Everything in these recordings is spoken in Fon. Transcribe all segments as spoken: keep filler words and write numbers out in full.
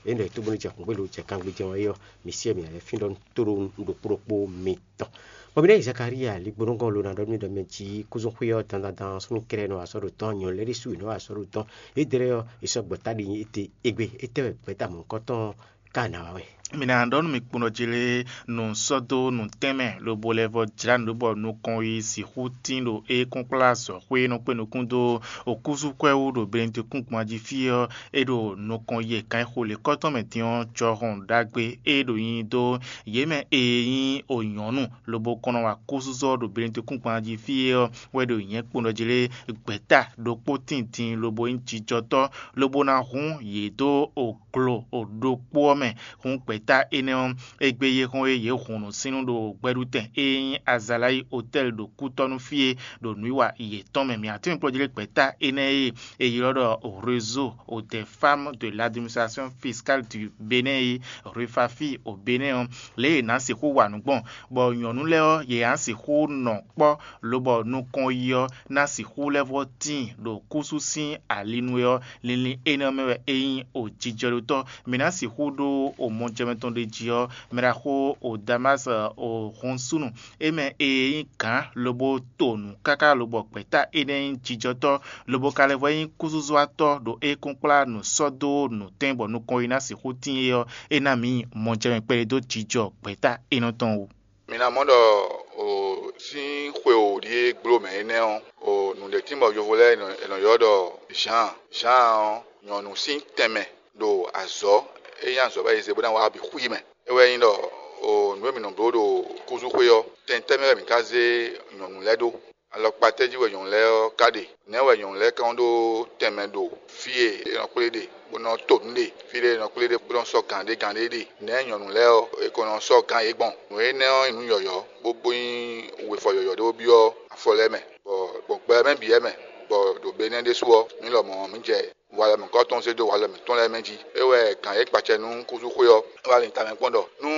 Ényí ɖɔ è tó bónú jɛ xǔngbélu jɛ kangbéjɛ ɔ́ é ɔ́, mi syɛ́ mǐ lɛ́ fín ɖɔ nú tóɖó nǔɖokpó ɖokpó mitɔn. Bɔ mǐ ɖɔ yi Zakalíya ligbónúgɔ́n lo ná ɖɔ nú mì ɖɔ mɛ jí kúzú xwé ɔ́ dandan súnnu kɛ́ɖɛ́ nɔ wa sɔ́ ɖo tɔ́n, nyɔ̌nu lɛ́ɛ ɖésú yě nɔ wa sɔ́ ɖo tɔ́n. Yědɛɛ ɔ́, è sɔ́ gbɔ̌ta ɖi nyi étɛ́ égbé, étɛ́ wɛ gbɛ̌tamɔ̌hunkɔtɔn ká ná wa wɛ? Mi ná ɖɔ nú mì kpɔ́n ɖɔ jí lé, nǔ sɔ́ dó nǔtɛnmɛ lobo lɛ́ vɔ́ jlá nǔ ɖó bɔ nukɔn yi sixú tín ɖo é kɔn kplá azɔ̌xwé e nɔ kpé nukún dó okúzúkwɛ́ wú ɖo Benedikúngban jí fí ɔ́, é ɖo nukɔn yi e kan e xo lě kɔ́tɔn mɛ din ɔ́ jɔhɔn ɖagbe e ɖo nyi dó yě mɛ e nyí o nyɔ̌nu lobo kɔn nɔ wa kúzúzɔ ɖo Benedikúngban jí fí é ɔ́ wɛ ɖo nyɛ̌ kpɔ́n ɖɔ jí lé, gbɛ̌ta ɖokpó tíndin lobo nyí jijɔtɔ́ lobo ná hun yě dó o glo ɖokpó ɔ́ mɛ. Hǔn gbɛ̌ta énɛ́ ɔ́, égbé yě hɔn e yě hun nǔsínnú ɖo gbɛɖutɛn e nyí Azalayi Otɛ́li ɖo kútɔ́ nú fí é ɖo nǔwiwa yětɔn mɛ. Mǐ atɔ́ nyí kplɔ́ jí lé gbɛ̌ta énɛ́ e è ylɔ́ ɖɔ Réseau des Femmes de l'Administration Fiscale du Bénin é, Refafi o Bénin ɔ́, lě e è nǎ sixú wa nǔ gbɔn, bɔ nyɔ̌nu lɛ́ɛ ɔ́, yě ná sixú nɔ kpɔ́, lobɔ nukɔn yi ɔ́ ná sixú lɛ́ vɔ́ tíin ɖo kúsú sín ali nu é ɔ́, linlin énɛ́ ɔ́ mɛ wɛ é nyí o jijɔɖotɔ́. Mǐ ná sixú ɖó o mɔjɛmɛ tɔn ɖ'é jí ɔ́, mɛ ɖaxó o Damási o hun súnnu, é mɛ e nyí gǎn lobo to nǔ káká lobɔ gbɛ̌ta énɛ́ nyí jijɔtɔ́, lobo ka lɛ́ vɔ nyí kúzúzɔ́watɔ́ ɖo é kún kplá nǔ sɔ́ dó nǔtɛn bɔ nukɔn e ná sixú tíin é ɔ́, é ná mǐ nyí mɔjɛmɛ kpɛɖé dó jijɔ gbɛ̌ta énɛ́ tɔn wú. Mi ná mɔ ɖɔ o sín xwe o ɖíe gbló mɛ énɛ́ ɔ́, o nǔɖé tín bɔ yovo lɛ́ɛ è nɔ ylɔ́ ɖɔ Zǎan. Zǎan ɔ́, nyɔ̌nu sín tɛnmɛ ɖo azɔ̌ e nyí azɔ̌ bɔ è zě bó ná wá bǐ xwí mɛ. É wɛ nyí ɖɔ o nǔ e mǐ nɔ bló ɖo kúzúxwé ɔ́, tɛn tɛ́ mɛ wɛ mǐ ka zé nyɔ̌nu lɛ́ɛ ɖó? Alɔkpa tɛ́ jí wɛ nyɔ̌nu lɛ́ɛ ɔ́ ka ɖe? Nɛ̌ wɛ nyɔ̌nu lɛ́ɛ ka nɔ ɖó tɛnmɛ ɖo fí e è nɔ kplé ɖe, bó nɔ to nǔ ɖe, fí ɖé è nɔ kplé ɖe, bó nɔ sɔ́ gǎn ɖé gǎn ɖé ɖe? Nɛ̌ nyɔ̌nu lɛ́ɛ ɔ́, è ko nɔ sɔ́ gǎn yě gbɔn? Nǔ énɛ́ ɔ́ nyí nǔ yɔ̌yɔ́, bó bó nyí wefɔ yɔ̌yɔ́ ɖé bó byɔ́ afɔ lɛ́ɛ mɛ, bɔ gbɔn gbɛ ɔ́ mɛ bǐ wɛ mɛ, bɔ ɖo be énɛ́ ɖésú ɔ́, mǐ lɔmɔ̌ mǐ jɛ walɔ mǐkɔtɔn zé dó walɔ mǐtɔn lɛ́ɛ mɛ jí. É wɛ gǎn e kpacɛ nú kúzúxwé ɔ́ wá lin tamɛ kpɔ́n ɖɔ nú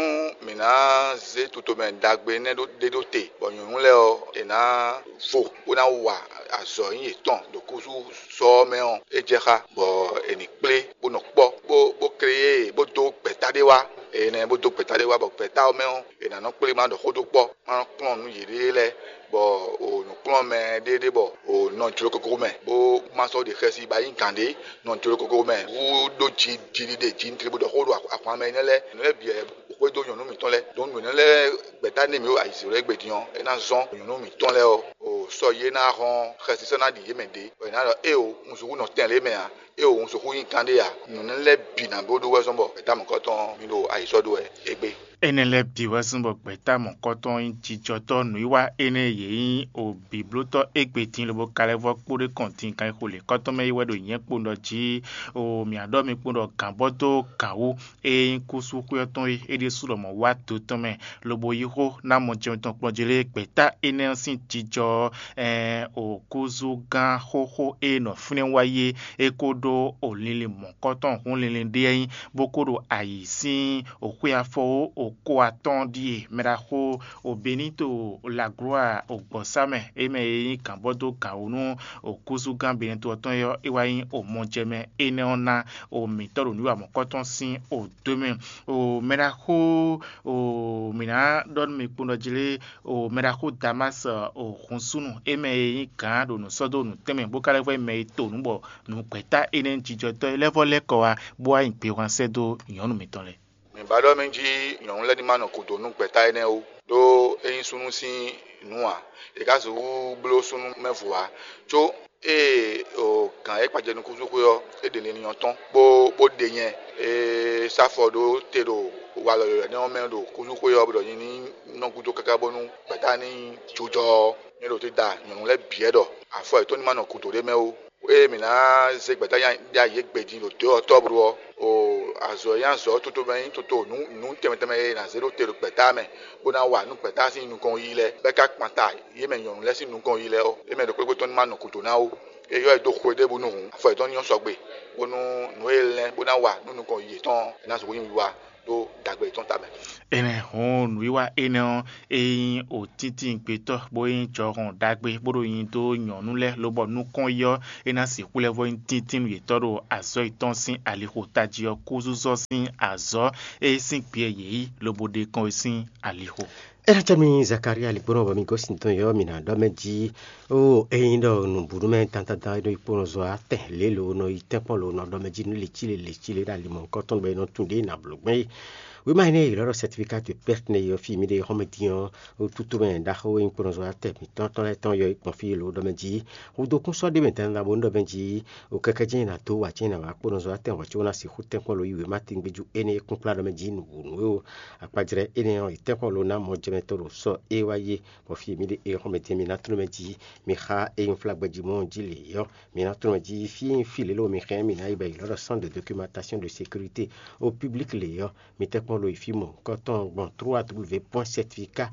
mǐ ná zé tutomɛ ɖagbe énɛ́ ɖó ɖé ɖó te, bɔ nyɔ̌nu lɛ́ɛ ɔ́, è nǎ vo bó ná wa azɔ̌ nyí yětɔn ɖo kúzú sɔ ɔ́ mɛ ɔ́, é jɛ xá, bɔ è nǐ kplé bó nɔ kpɔ́, bó bó klé yě, bó dó gbɛ̌ta ɖé wá. Énɛ́ bó dó gbɛ̌ta ɖé wá, bɔ gbɛ̌ta ɔ́ mɛ ɔ́, è nǎ nɔ kplé ma ɖɔ xó dó kpɔ́, ma nɔ kplɔ́n nǔ yěɖée lɛ́ɛ, bɔ o nǔkplɔ́nmɛ ɖé ɖé bɔ o nɔ jlokoko mɛ, bó ma sɔ́ ɖe xɛsi ba nyí gǎn ɖé nɔ jlokoko mɛ wú ɖó ji jiɖiɖe ji ntre bó ɖɔ xó ɖo ahwan mɛ énɛ́ lɛ́ɛ. Nǔ lɛ́ɛ bǐ wɛ xwedó nyɔ̌nu mǐtɔn lɛ́ɛ. Dǒ nǔ énɛ́ lɛ́ɛ gbɛ̌ta n'i mǐ ɖo ayǐzé lɛ́ɛ gbe din ɔ́, é ná zɔ́n nyɔ̌nu mǐtɔn lɛ́ɛ ɔ́, o sɔ yi é ná hɔn xɛsi sɔ́ ná ɖi yě mɛ ɖě, bɔ è nǎ ɖɔ éeǒ, un sixú nɔ tɛn lě mɛ ǎ, éeǒ, un sixú nyí gǎn ɖé ǎ. Nǔ énɛ́ lɛ́ɛ bǐ ná bló ɖó wɛ zɔ́n bɔ gbɛ̌ta mɔ̌kɔtɔn ɔ́, mǐ ɖo ayǐ sɔ́ ɖó wɛ égbé. Énɛ́ lɛ́ɛ bǐ wɛ zɔ́n bɔ gbɛ̌ta mɔ̌kɔtɔn nyí jijɔtɔ́ nǔwiwa énɛ́ e yě nyí o bǐblótɔ́ égbé din lobo ka lɛ́ vɔ́ kpó ɖé kɔn din kan e xo lě kɔ́tɔn mɛ é wɛ ɖo nyɛ̌ kpo ɖɔ jí o mǐ á ɖɔ mi kpo ɖɔ gǎn bɔ dó gǎn wú. E nyí kúsú xwé ɔ́ tɔn é, é ɖésú lɔmɔ̌ wá do tɔn mɛ, lobo yí xó ná mɔ jɛun tɔn kplɔ́n jí lé gbɛ̌ta énɛ́ ɔ́ sín jijɔ ɔ́, ɛɛn, o kúzú gán xóxó e nɔ fínɛ́ wá yi é, é kó ɖó o linlin mɔ̌kɔtɔn hún linlin ɖé ɔ́ nyí, bó kó ɖo ayǐ sín o xwé afɔwó o kó atɔ́ɔ́n ɖíe mɛ ɖaxó o Benito Laglua o gbɔ̌sá mɛ, é mɛ e nyí gǎnbɔ́dó gǎn wú nú o kúzú gán Benito ɔ́ tɔn é ɔ́, é wá nyí o mɔjɛmɛ énɛ́ ɔ́ ná o mǐtɔn ɖo nǔ wa mɔ̌kɔtɔn sín o dó mɛ. O mɛ ɖaxó o mǐ ná ɖɔ nú mi kpowun ɖɔ jí lé, o mɛ ɖaxó Damási o hun súnnu, é mɛ e nyí gǎn ɖo nǔ sɔ́ dó nǔ tɛnmɛ bó ka lɛ́ vɔ nyí mɛ e to nǔ bɔ nǔgbɛ́ta énɛ́ jijɔtɔ́ e lɛ́ vɔ lɛ́ kɔ wá bó wá nyi gbehwan sɛ́ dó nyɔ̌nu mitɔn lɛ́ɛ. Mǐ ba ɖɔ mɛ jí nyɔ̌nu lɛ́ɛ ní ma nɔ gǔdo nú gbɛ̌ta énɛ́ ó, ɖó é nyí súnnu sín nǔ ǎ; è ka sixú bló súnnu mɛ vo ǎ, có ée o gǎn e kpa jɛ nú kúzúxwé ɔ́, é ɖe linlin ɔ́ tɔ́n, bó bó ɖe nyɛ e sá afɔ ɖó te ɖo walɔ yɔ̌yɔ́ énɛ́ ɔ́ mɛ ɖo kúzúxwé ɔ́, bó ɖɔ nyɛ ní nɔ gúdo káká bónú gbɛ̌ta ní jojɔ ɔ́, nyɛ ɖo te da nyɔ̌nu lɛ́ɛ bǐ wɛ ɖɔ afɔ yětɔn ní ma nɔ gǔdo ɖ'é mɛ ó. Ée mǐ ná zé gbɛ̌ta nya ɖ'ayǐ égbé din ɖo dǒ ɔ́ tɔ́blu ɔ́, o azɔ̌ e nyí azɔ̌ toto mɛ nyí toto nǔ nǔ tɛnmɛ tɛnmɛ e è nǎ zé ɖó te ɖo gbɛ̌ta mɛ, bó ná wa nú gbɛ̌ta sín nukɔn yiyi lɛ́ɛ, bɔ é ka kpan ta yě mɛ nyɔ̌nu lɛ́ɛ sín nukɔn yiyi lɛ́ɛ ɔ́, yě mɛ ɖokpó ɖokpó tɔn ní ma nɔ gǔdo ná ó. É ylɔ́ yě dó xwe ɖěbǔ nu hǔn, afɔ yětɔn ní nyɔ́ sɔgbe, bónú nǔ e lɛ́n bó ná wa nú nukɔn yiyi yětɔn ɔ́, é ná sixú nyí wiwa. ɖó ɖagbe yětɔn tamɛ. Énɛ́ hɔn nǔwiwa énɛ́ ɔ́, é nyí òtíntín gbetɔ́, bó nyí jɔhɔn ɖagbe, bó ɖo nyi dó nyɔ̌nu lɛ́ɛ, lobɔ nukɔn yi ɔ́, é ná sixú lɛ́ vɔ nyí tíntín nú yětɔn ɖo azɔ̌ yětɔn sín alixo tají ɔ́ kúzúzɔ sín azɔ̌ e sín gbɛ yě yí lobo ɖe kɔn é sín alixo. É ná cɛ mì Zakaria ligbɔ́nɔ bɔ mi gosín tɔn yɔ mì nǎ ɖɔ mɛ jí ó. Ényí ɖɔ nǔbúɖú mɛ dandandan e nɔ yi kponɔzɔ atɛn lě lo nɔ yi tɛ́nkpɔ́n lo nɔ ɖɔ mɛ jí nú lecíle lecíle ɖo ali mɔ̌hunkɔtɔn bɔ è nɔ tunwun ɖě nǎ bló gbɛn é. Wěma énɛ́ e è ylɔ́ ɖɔ certificat de perte nɛ́ ɔ́, fí mì ɖe xɔ́mɛ din ɔ́, ó tútú mɛ ɖaxó e nyí kponɔzɔ atɛn mǐtɔn tɔn lɛ́ɛ tɔn yɔ é gbɔn fí lo ɖɔ mɛ jí. Hudokún sɔ́ ɖé mɛ dandandan bó nú ɖɔ mɛ jí. O kɛkɛ́ jɛ́n è nǎ dó wǎ jɛ́n è nǎ wá kponɔzɔ atɛn hɔ̌ có ná sixú tɛ́nkpɔ́n lo yí wěma tɛ́ngbéjú énɛ́ e kúnkplá ɖɔ mɛ jí nǔ wǔ nú é o. Akpajlɛ́ énɛ́ ɔ́, è tɛ́nkpɔ́n lo ná mɔjɛmɛtɔ́ ɖo sɔ́ é wá yé, bɔ fí e mì ɖe é xɔ́mɛ din mì ná tló mɛ jí. Mi xa e nyí flá gbɛjí mɔ jí lě ɔ́, mǐ ná tló mɛ jí fí e nyí fí lě lo mi xɛn mǐ ná yi bɔ è ylɔ́ ɖɔ centre de documentation de sécurité au public lě ɔ́, mi tɛ́nkpɔ́n lo yi fí mɔ̌hunkɔtɔn gbɔn trois w point certificat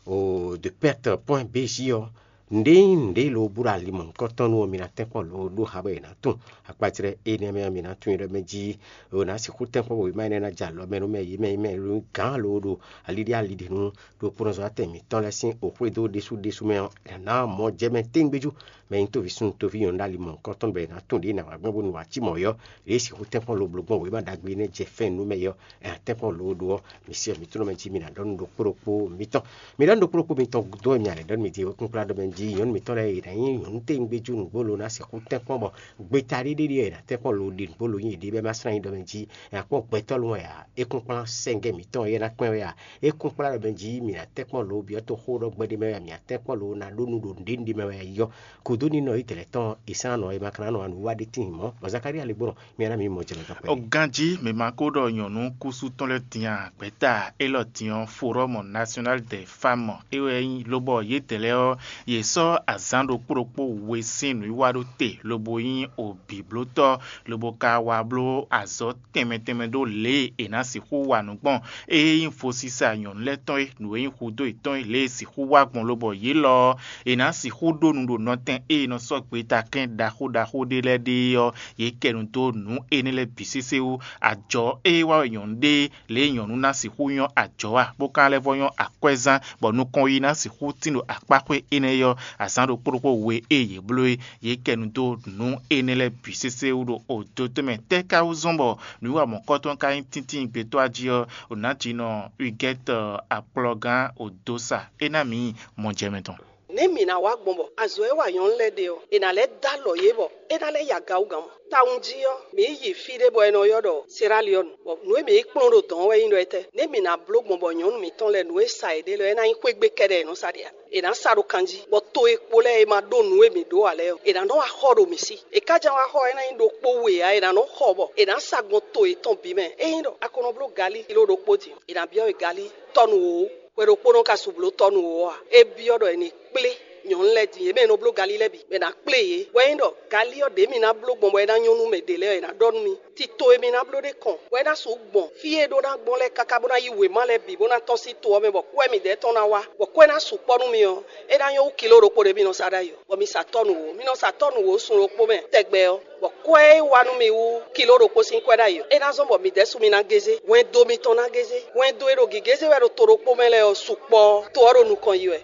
de perte point bj ɔ́. Nǔɖé nyí nǔɖé lo bú ɖo ali mɔ̌hunkɔtɔn nú ɔ́, mi ná tɛ́nkpɔ́n lo ɖó xa bɔ è nǎ tunwun. Akpacrɛ énɛ́ mɛ ɔ́, mi ná tunwun ɖɔ mɛ jí è nǎ sixú tɛ́nkpɔ́n bɔ wěma énɛ́ ná jɛ alɔ mɛ nú mɛ yě mɛ nyí mɛ gǎn lo ɖo ali ɖé ali ɖé nú ɖo kponɔzɔ́watɛn mǐtɔn lɛ́ɛ sín oxwédó ɖésú ɖésú mɛ ɔ́, è nǎ mɔ jɛ mɛ téŋgbéjú. Mɛ nyí toví súnnu toví nyɔ̌nu ɖo ali mɔ̌hunkɔtɔn bɔ è nǎ tunwun ɖě è nǎ wá gbɔn bónú wǎ cí mɔ̌ ɔ́, ɖě sixú tɛ́nkpɔ́n lo bló gbɔn wěma ɖagbe énɛ́ jɛ fɛ́n nú mɛ ɔ́, è nǎ tɛ́nkpɔ́n lo ɖó ɔ́, mi se ɔ́, mi tló mɛ jí mi ná ɖɔ nú ɖokpó ɖokpó mitɔn. Mi ɖɔ nú ɖokpó ɖokpó mitɔn dó wɛ mi a lɛ̌ ɖɔ nú mi din wekúnkplá ɖɔ mɛ jí nyɔ̌nu mitɔn lɛ́ɛ è nǎ nyí nyɔ̌nu téŋgbéjú nǔgbó lo ná sixú tɛ́nkpɔ́n bɔ gbeta ɖé ɖé ɖíe è nǎ tɛ́nkpɔ́n lo ɖe nǔgbó lo nyi yěɖée bɔ é ma slán nyi ɖɔ mɛ jí è nǎ kpɔ́n gbɛtɔ́ lɔn wɛ ǎ. É kún kplán sɛ́ngɛ́ mǐtɔn é ná kpɛ́n wɛ ǎ. É kún kplán ɖɔ mɛ jí mǐ ná tɛ́nkpɔ́n lo byɔ́ toxó ɖɔ gbɛɖé mɛ wɛ ǎ, mǐ ná tɛ́nkpɔ́n lo ná ɖó nú ɖo nǔɖé nǔɖé mɛ wɛ ǎ. Yɔ kúdó ní nɔ Ízlayɛ́li tɔn è sán nɔ è ma ka ná nɔ wá nǔ wa ɖé tíin mɔ̌, bɔ Zakalía lɛ́ gbɔn mǐ ná mǐ mɔ jɛ lɛ gán kpɛɖé. Ganjí mǐ ma ko ɖɔ nyɔ̌nu kúsú tɔn lɛ́ɛ din a? Gbɛ̌ta élɔ́ din ɔ́, Forum National des Femmes é wɛ nyí, lobɔ yědɛɛ lɛ́ɛ ɔ́, yě sɔ́ azǎn ɖokpó ɖokpó we sín nǔwiwa ɖó te, lobo nyí obǐblótɔ́, lobo ka wá bló azɔ̌ tɛnmɛ tɛnmɛ ɖó lě e è nǎ sixú wa nǔ gbɔn. Ée nyí vodísa nyɔ̌nu lɛ́ɛ tɔn é, nǔ e nyí hudó yětɔn é, lě e sixú wá gbɔn lobɔ yě lɔ ɔ́, è nǎ sixú ɖó nu ɖo nɔtɛn e è nɔ sɔ́ gbeta kɛ́n ɖaxó ɖaxó ɖé lɛ́ɛ ɖe é ɔ́, yě kɛ nu dó nǔ énɛ́ lɛ́ɛ bǐ sésé wú. Ajɔ̌ e wá wɛ nyɔ̌nu ɖe é, lě e nyɔ̌nu ná sixú nyɔ́ ajɔ̌ a, bó ka lɛ́ vɔ́ nyɔ́ akwɛ́zán, bɔ nukɔn yi ná sixú tín ɖo akpáxwé énɛ́ ɔ́, azǎn ɖokpó ɖokpó we e yě bló é, yě kɛ nu dó nǔ énɛ́ lɛ́ɛ bǐ sésé wú ɖo odotomɛ. Tɛ́ ka wú zɔ́n bɔ nǔwiwa mɔ̌kɔ́tɔn ka nyí tíntín gbetɔ́ jí ɔ́, Nǎjínɔ Huguette Akplɔgán Odosa é ná mǐ mɔ jɛ mɛ tɔn. Nɛ̌ mǐ ná wa gbɔn bɔ azɔ̌ e wa nyɔ̌nu lɛ́ɛ ɖe ɔ́, è nǎ lɛ́ dó alɔ yě bɔ é ná lɛ́ yi aga wú gǎn mɔ̌? Tawun jí ɔ́, mǐ yi fí ɖé bɔ è nɔ ylɔ́ ɖɔ Seraliɔ́nu, bɔ nǔ e mǐ yi kplɔ́n ɖo dɔ̌n ɔ́ wɛ nyí ɖɔ étɛ́? Nɛ̌ mǐ ná bló gbɔn bɔ nyɔ̌nu mǐtɔn lɛ́ɛ nǔ e sa yě ɖe lɛ́ɛ é ná nyí xwé gbe kɛ́ɖɛ́ è nɔ sa ɖe a? È nǎ sa ɖo kan jí, bɔ to e kpo lɛ́ɛ e ma ɖó nǔ e mǐ ɖó ǎ lɛ́ɛ ɔ́, è nǎ nɔ wá xɔ ɖo mǐ sí. È ká ján wá xɔ ɔ́, é ná nyí ɖokpó we ǎ, è nǎ nɔ xɔ bɔ è nǎ sa gbɔn to yětɔn bǐ mɛ. Ényí ɖɔ a ko nɔ bló galí kilo ɖokpó din, è nǎ byɔ́ we galí tɔ́nu wǒ, hwe ɖokpónɔ ka su bló tɔ́nu wǒ ɔ́ a? É byɔ́ ɖɔ è nǐ kplé nyɔ̌nu lɛ́ɛ din, yě mɛ e nɔ bló galí lɛ́ɛ bǐ, bɔ è nǎ kplé yě. Hwɛ nyí ɖɔ galí ɔ́ ɖě mǐ ná bló gbɔn bɔ é ná nyɔ́ nú mɛ ɖě lɛ́ɛ ɔ́, è nǎ ɖɔ nú mì. Tito e mi ná bló ɖé kɔn, bɔ é ná sixú gbɔn fí e ɖó ná gbɔn lɛ́ɛ káká bó ná yí wěma lɛ́ɛ bǐ bó ná tɔ́n sín to ɔ́ mɛ, bɔ kú wɛ midɛɛ tɔn ná wá, bɔ kú ɛ ná sukpɔ́ nú mi ɔ́, é ná nyɔ́ wú kilo ɖokpó ɖé mi nɔ sa ɖ'ayǐ ɔ́, bɔ mi sa tɔ́nu wǒ. Mi nɔ sa tɔ́nu wǒ sun ɖokpó mɛ tɛgbɛ ɔ́, bɔ kwɛ́ e wá nú mi wú kilo ɖokpó sín kwɛ́ ɖ'ayǐ ɔ́, é ná zɔ́n bɔ midɛɛ su mi ná gézé. Hwɛndo mitɔn ná gézé. Hwɛndo e ɖo gǐgézé wɛ ɖo to ɖokpó mɛ lɛ́ɛ ɔ́, sukpɔ́ ɔ́, to ɔ́ ɖo nukɔn yi wɛ.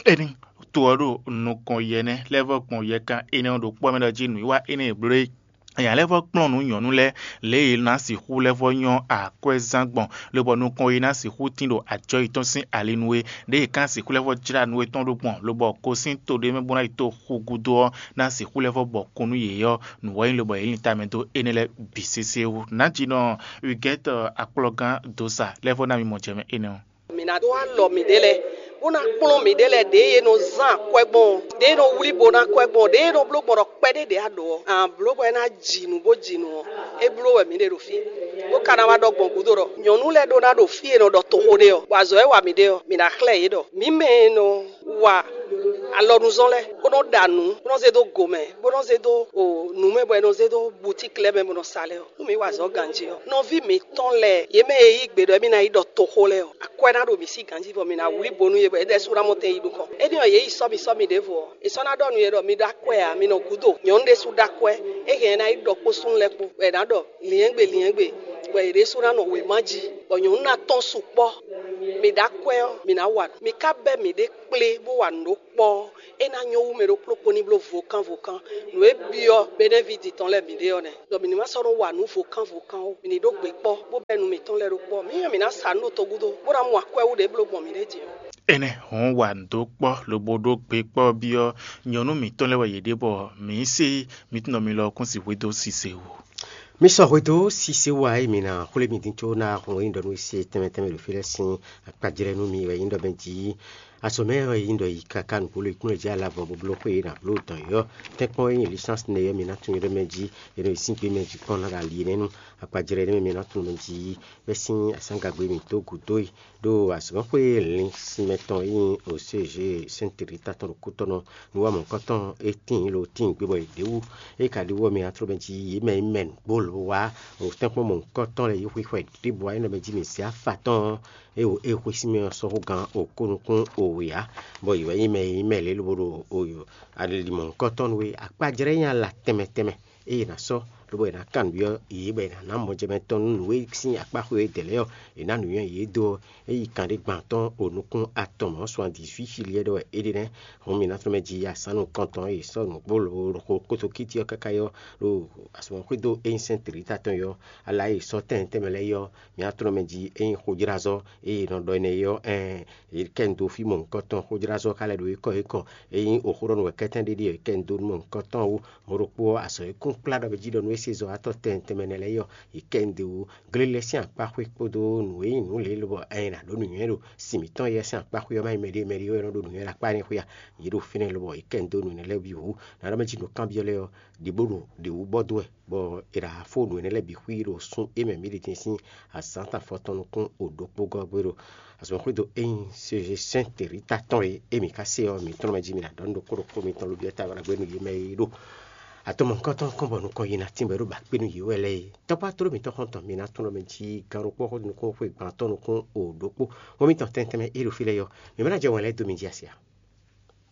Ényí to ɔ́ ɖo nukɔn yi ɛnɛ́ lɛ́ɛ vɔ gbɔn yɛkan énɛ́ ɔ́ ɖokpó ɔ́ mɛ ɖɔ jí nǔwiwa énɛ́ e bló é, nya lɛ́ɛ vɔ kplɔ́n nǔ nyɔ̌nu lɛ́ɛ lě e è nǎ sixú lɛ́ vɔ nyɔ́ akwɛ́zán gbɔn, lobɔ nukɔn e ná sixú tín ɖo ajɔ̌ yětɔn sín ali nú é. Ɖěe è ka ná sixú lɛ́ vɔ jlá nǔ étɔn ɖó gbɔn, lobɔ ko sín to ɖé mɛ bó ná yi to xu gúdo ɔ́, ná sixú lɛ́ vɔ bɔ kún nú yě ɔ́, nǔ wɛ nyí lobɔ yě lin tamɛ dó énɛ́ lɛ́ɛ bǐ sésé wú. Nǎjínɔ Huguette Akplɔgán Dosa lɛ́ vɔ ná mi mɔ jɛ mɛ énɛ́ ɔ́. Mǐ ná dó alɔ mǐɖée lɛ́ɛ, bó ná kplɔ́n mǐɖée lɛ́ɛ ɖě e nɔ zán akwɛ́ gbɔn ɔ́, ɖě e nɔ wlí bo ná akwɛ́ gbɔn ɔ́, ɖě e nɔ bló gbɔn ɖɔ kpɛɖé ɖě a ɖǒ ɔ́, a blǒ bɔ é ná ji nǔ bó ji nǔ ɔ́, é bló wɛ mǐ ɖe ɖo fí. Bó ka ná wá ɖɔ gbɔn gǔdo ɖɔ nyɔ̌nu lɛ́ɛ ɖó ná ɖo fí e è nɔ ɖɔ toxo ɖe ɔ́, bɔ azɔ̌ e wa mǐ ɖe ɔ́, mǐ ná xlɛ́ yě ɖɔ mǐ mɛ e nɔ wa alɔnuzɔn lɛ́ɛ, bó nɔ́ ɖa nǔ, bó nɔ́ zé dó go mɛ, bó nɔ́ zé dó nǔ mɛ, bɔ è nɔ zé dó butíki lɛ́ɛ mɛ bó nɔ́ sa lɛ́ɛ ɔ́, nú mǐ wa azɔ̌ ganjí ɔ́, nɔví mǐtɔn lɛ́ɛ, yě mɛ e yí gbe ɖɔ émí ná yi ɖɔ toxo lɛ́ɛ ɔ́, akwɛ́ ná ɖo mǐ sí ganjí, bɔ mǐ ná wlí bo nú yě, bɔ yě ɖɛ́ sú ná mɔ tɛn yi nukɔn. Énɛ́ ɔ́, yě yi sɔ́ mì sɔ́ mì ɖěvo ɔ́, è sɔ́ ná ɖɔ nú yě ɖɔ mi ɖó akwɛ́ ǎ, mi nɔ gúdo. Nyɔ̌nu ɖésú ɖó akwɛ́, é hɛn ɛ ná yi ɖɔ kpó súnnu lɛ́ɛ kpó, bɔ è nǎ ɖɔ lyɛ̌ngbè lyɛ̌ngbè. Bɔ yě ɖésú ná nɔ wěma jí, bɔ nyɔ̌nu ná tɔ́n sukpɔ́. Mi ɖó akwɛ́ ɔ́, mi ná wa nǔ. Mi ka bɛ́ mǐɖée kplé bó wa nǔ ɖó kpɔ́ ɔ́, é ná nyɔ́ wú mɛ ɖokpló kpó ní bló vokán vokán. Nǔ e byɔ́ Benɛ́vidi tɔn lɛ́ɛ mǐ ɖe ɔ́ nɛ́, ɖɔ mǐ ní ma sɔ́ nɔ́ wa nǔ vokán vokán ó. Mǐ ní ɖó gbě kpɔ́, bó bɛ́ nu mǐtɔn lɛ́ɛ ɖó kpɔ́. Mǐ nyɔ́ mǐ ná sa nǔ ɖo togudo, bó ná mɔ akwɛ́ wú ɖě bló gbɔn mǐɖée jí ɔ́. Énɛ́ hɔn wa nǔ dó kpɔ́ lobo ɖó gbe kpɔ́ byɔ́ nyɔ̌nu mǐtɔn lɛ́ɛ wɛ yě ɖe bɔ mǐ se mǐtɔn mi lɔ kún si hwedó sise wú. Mi sɔ hwedó sise wú ǎ, mi ná xwlé mi dín có ná hun e nyí ɖɔ nú se tɛnmɛ tɛnmɛ ɖo fí lɛ́ɛ sín akpajlɛ́ nú mi wɛ nyí ɖɔ mɛ jí. Azɔ̌ mɛ wɛ nyí ɖɔ yi káká nǔgbó lo kúnlɛ jí alavɔ bó bló xwé e nǎ bló dɔn yɔ́. Tɛ́nkpɔ́n e nyí lisánsi nɛ yɔ́ mi ná tunwun ɖɔ mɛ jí, e nɔ yi sín gbé mɛ jí kpɔ́n ná ɖo ali nɛ́ nú akpajlɛ́ nɛ́ mɛ mi ná tunwun mɛ jí. Bɛ́ sín asǎngagbe mǐtɔn gǔdo e ɖo azɔ̌mɔxwé lǐn sinmɛ tɔn e nyí O C G Sɛ́ntiri ta tɔn ɖo kútɔ́nɔ nú wá mɔ̌hunkɔtɔn e tíin lo tíin gbe bɔ è ɖě wú. É ka ɖi wú ɔ́, mi ná tló mɛ jí yě mɛ e mɛ nǔgbó lǒ wá ɖo tɛ́nkpɔ́n mɔ̌hunkɔtɔn lɛ́ɛ yi xwixwɛ ɖěbǔ wá nyí ɖɔ mɛ jí mi zě afa tɔn ɔ́, é wo é xwé sín mɛ ɔ́ sɔ́ hú gán okó nukún o wě ǎ, bɔ yě wɛ nyí mɛ e nyí mɛ lě lobo ɖo ali mɔ̌hunkɔtɔn nú é. Akpajlɛ́ nyí ala tɛnmɛ tɛnmɛ eye è nǎ sɔ́, lobo è nǎ kanbyɔ́ yě bɔ è nǎ ná mɔjɛmɛ tɔn nú nǔ e sín akpá xwe e dɛ̌ lɛ́ɛ ɔ́, è nǎ nǔnywɛ́ yě dó ɔ́, é yi kan ɖé gban tɔn o nukún atɔn mɔ̌ suandizwí xiliɛ ɖɔ wɛ é ɖe nɛ́. Hǔn mi ná tlɔ́ mɛ jí asán nukɔntɔn e è sɔ́ nǔgbó lǒ ɖo xo kótó kíti ɔ́ káká yɔ́ ɖo azɔ̌mɔxwédo e nyí sɛ́n Tlǐta tɔn yɔ́. Ala e è sɔ́ tɛnmɛ tɛnmɛ lɛ́ɛ yɔ́, mi ná tlɔ́ mɛ jí é nyí xojlázɔ́ e è nɔ ɖɔ énɛ́ é ɔ́, ɛɛn, è kɛ nu dó fí mɔ̌hunkɔtɔn, xojlázɔ́ ka lɛ́ ɖo é kɔ é kɔ. Ényí è xó ɖɔ nǔ wɛ kɛ́tɛ́n ɖé ɖíe è kɛ nu dó nú mɔ̌hunkɔtɔn wú, mɔ̌ ɖokpó ɔ́, azɔ̌ e kún kplá ɖɔ mɛ jí ɖɔ nú é se zɔ wá tɔ́ tɛnmɛ tɛnmɛ nɛ́ lɛ́ɛ é ɔ́, è kɛ nu dó wú. Glélɛ́ sín akpá xwé kpódó nǔ e nyí nǔ lě lobɔ ɛ nǎ ɖó nǔnywɛ́ ɖo sin mǐtɔn yɛ sín akpá xwé ɔ́ má nyí mɛɖé mɛɖé wɛ nɔ ɖó nǔnywɛ́ ɖo akpá énɛ́ xwé a? Yě ɖo fínɛ́ lobɔ è kɛ nu dó nǔ énɛ́ lɛ́ɛ bǐ wú. Nǎ ɖɔ mɛ jí nǔkanbyɔ́ lɛ́ɛ ɔ́, ɖě bó ɖo ɖě wú bɔ dó wɛ, bɔ è ɖo afó nǔ énɛ́ lɛ́ɛ bǐ xwí ɖo sun e mɛ mǐ ɖe din sín azǎn tɔn afɔtɔn nukún o ɖokpó gɔ́ gbé ɖo azɔ̌xwédo e nyí C G sɛ́n Tlǐta tɔn e émí ka se ɔ́, mǐ tɔn mɛ jí mi ná ɖɔ nú ɖokpó ɖokpó mitɔn lobí ɔ́ ta wá ɖagbe nú yě mɛ e ɖo atɔmɔ̌hunkɔtɔn kɔn bɔ nukɔn yi ná tínbɔ é ɖo ba kpé nú yě wɛ lɛ́ɛ é. Tɔ́kpá tló mǐtɔn xɔ́ntɔn mi ná tunɔ mɛ jí gán ɖokpó xó nukún xwé gbantɔ́ nukún o ɖokpó. Hɔn mitɔn tɛnmɛ tɛnmɛ e ɖo fí lɛ́ɛ ɔ́, mǐ mɛ ná jɛ wɛn lɛ́ɛ dó mi jí asi a?